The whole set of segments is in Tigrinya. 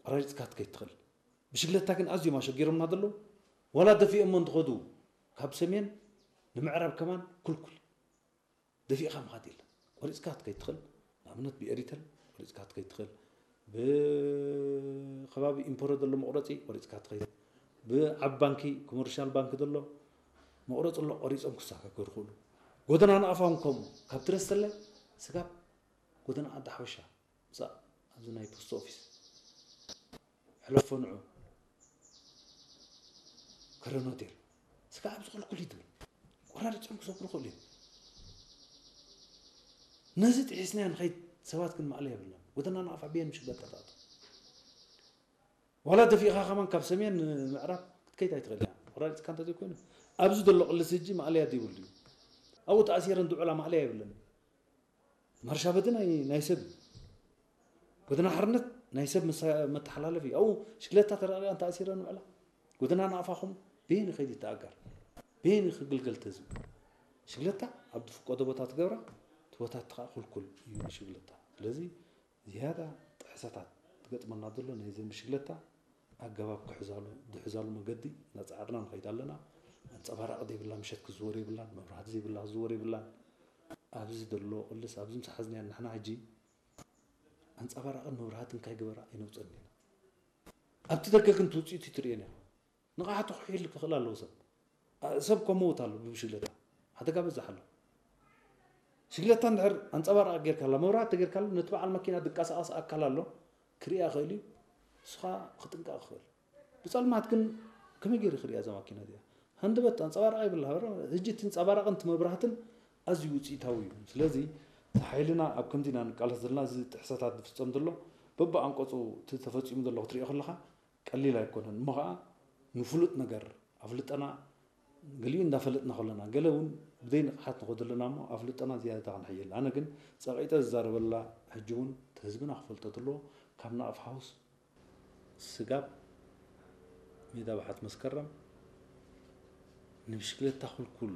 ቆራሪፅካ ክትከይድ ትኽእል። ብሽግለታ ግን ኣዝዮም ኣሸጊሮምና ዘለዉ። ዋላ ደፊኦሞ እንትኸዱ ካብ ሰሜን ንምዕራብ ከማን ኩልኩል ደፊእኻ ምኻድ የለን። ቆሪፅካ ክትከይድ ትኽእል። ንኣብነት ብኤሪተል ቆሪፅካ ክትከይድ ትኽእል። ብከባቢ ኢምፖረ ዘሎ መቑረፂ ቆሪፅካ ትኸይድ። ብዓብ ባንኪ ኮመርሻል ባንኪ ዘሎ መቑረፂ ኣሎ፣ ቆሪፆም ክሳጋገሩ ይኽእሉ። ጎደና ንኣፋውን ከምኡ ካብ ትረስተለ ስጋብ ጎደና ዓዲ ሓበሻ ምሳእ ኣብዚ ናይ ፖስት ኦፊስ ሕለፎ ንዑ ከረን ሆቴል ስጋ ኣብዚ ክልኩል እዩ ትብል። ቆራሪፆም ክሰግሩ ይኽእሉ እዮም። ነዚ ጥሒስና ንኸይድ ሰባት ግን ማእለያ የብልና። ጎደና ንኣፋ ብየን ምሽግለታ ትኣቱ። ዋላ ደፊእኻ ከማን ካብ ሰሜን ንምዕራብ ክትከይድ ኣይትኽእል እያ። ቆራሪፅካ እንተዘይኮይኑ ኣብዚ ዘሎ ቅልስ እጂ ማእለያ ዘይብሉ እዩ። ኣብኡ ተኣሲረን ዝውዕላ ማእለያ የብለን። ማርሻ በቲ ናይ ናይ ሰብ እዩ። ጎደና ሓርነት ናይ ሰብ መሳ- መተሓላለፊ እዩ። ኣብኡ ሽግለታ ተረቂቐን ተኣሲረን ውዕላ። ጎደና ንኣፋኹም በየን ይኸይድ ይተኣጋር፣ በየን ክግልገል ተዝብ። ሽግለታ ኣብ ዝፍቀዶ ቦታ ትገብራ፣ እቲ ቦታት ከዓ ኩልኩል እዩ ንሽግለታ። ስለዚ ዝያዳ ጥሕሰታት ትገጥመና ዘሎ ናይ ዘን ብሽግለታ ኣገባብ ክሕዛሉ ዝሕዛሉ መገዲ እናፀዓርና ንኸይድ ኣለና። ኣንፀባራቂ ዘይብላ ምሸት ክዝወር የብላን፣ መብራህቲ ዘይብላ ክዝወር የብላን። ኣብዚ ዘሎ ቅልስ ኣብዚ ምስ ሓዝናያ ንሕና ሕጂ ኣንፀባራቅን መብራህትን ካይገበራ ኣይነውፀን ኢና። ኣብቲ ደገ ግን ትውፅኢቱ ትርእየን ኢኻ። ንቕሓቱ ክሕይል ክኽእል ኣለዎ ሰብ። ኣ- ሰብ ከመውት ኣሎ ብብሽግለታ ሓደጋ በዛሕ ኣሎ። ሽግለታ እንድሕር ኣንፀባራቂ ጌርካላ መብራህቲ ጌርካላ ነቲ በዓል መኪና ዝንቀሳቐስ ኣካል ኣሎ ክርእያ ይኽእል እዩ። ንስኻ ክጥንቀቕ ክኽእል። ብፀልማት ግን ከመይ ገይሩ ክርእያ እዛ ማኪና እዚኣ? ሃንደበት ኣንፀባራቂ ይብላ። ሕጂ እቲ ኣንፀባራቅን እቲ መብራህትን ኣዝዩ ውፅኢታዊ እዩ። ስለዚ እቲ ሓይልና ኣብ ከምዚ ኢና ንቃለስ ዘለና። እዚ ጥሕሰታት ዝፍፀም ዘሎ በብኣንቀፁ እቲ ተፈፂሙ ዘሎ ክትሪኦ ከለኻ ቀሊል ኣይኮነን። እሞ ከዓ ንፍሉጥ ነገር ኣፍልጠና ገሊኡ እንዳፈለጥና ከለና ገለ እውን ብዘይ ንቕሓት ንኸዶ ኣለና እሞ ኣፍልጠና ዝያዳ ክንሕይል። ኣነ ግን ፀቂጠ ዝዛረበላ ሕጂ እውን እቲ ህዝብና ክፈልጦ ኣለዎ። ካብ ናቕፍ ሓውስ ስጋብ ሜዳ ባሓት መስከረም ንብሽክለታ ኩልኩል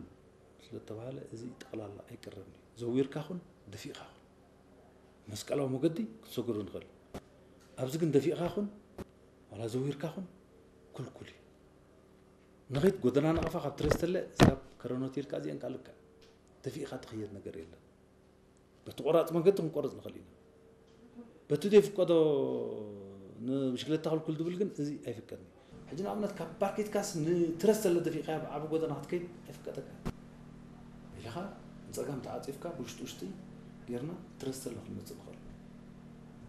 ስለተባሃለ እዚ ጠቕላላ ኣይቅረብን እዩ። ዘዊርካ ኹን ደፊእካ ኹን መስቀላዊ መገዲ ክትሰግሮ ንኽእል። ኣብዚ ግን ደፊእካ ኹን ዋላ ዘዊርካ ኹን ኩልኩል እዩ። ንኸይድ ጎደና ናቕፋ ካብ ትረስተለ ስጋብ ከረን ሆቴል እዚአን ካልካ ደፊእካ ትኽየድ ነገር የለን። በቲ ቆራፅ መንገዲ ክንቆርፅ ንኽእል ኢና። በቲ ዘይፍቀዶ ንብሽክለታ ክልኩል ዝብል ግን እዚ ኣይፍቀድን እዩ። ሕጂ ንኣብነት ካብ ባርኬትካስ ንትረስ ዘሎ ደፊእካ ብዓቢ ጎደና ክትከይድ ኣይፍቀደካ። ኢልኻ ንፀጋም ተዓፂፍካ ብውሽጢ ውሽጢ ጌርና ትረስ ዘሎ ክንመፅእ ንኽእል።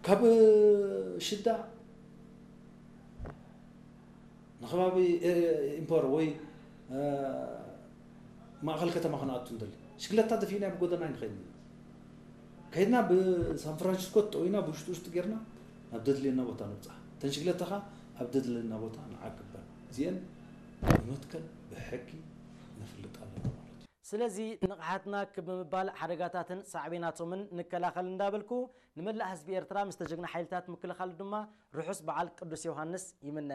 ካብ ሽዳ ንከባቢ ኢምፖር ወይ ማእኸል ከተማ ክንኣቱ ንደሊ ሽግለታ ደፊእና ብጎደና ኣይንኸይድን። ከይድና ብሳን ፍራንሲስኮ ተጠዊና ብውሽጢ ውሽጢ ጌርና ናብ ደድልየና ቦታ ንብፃሕ። እተን ሽግለታ ኸዓ ኣብ ደድልየና ቦታ ንዓቅበን። እዚአን ብመትከል ብሕጊ ነፍልጥ ኣለና ማለት እዩ። ስለዚ ንቕሓትና ክብ ብምባል ሓደጋታትን ሳዕቤናቶምን ንከላኸል እንዳበልኩ ንመላእ ህዝቢ ኤርትራ ምስ ተጀግና ሓይልታት ምክልኻሉ ድማ ርሑስ በዓል ቅዱስ ዮሃንስ ይምነ።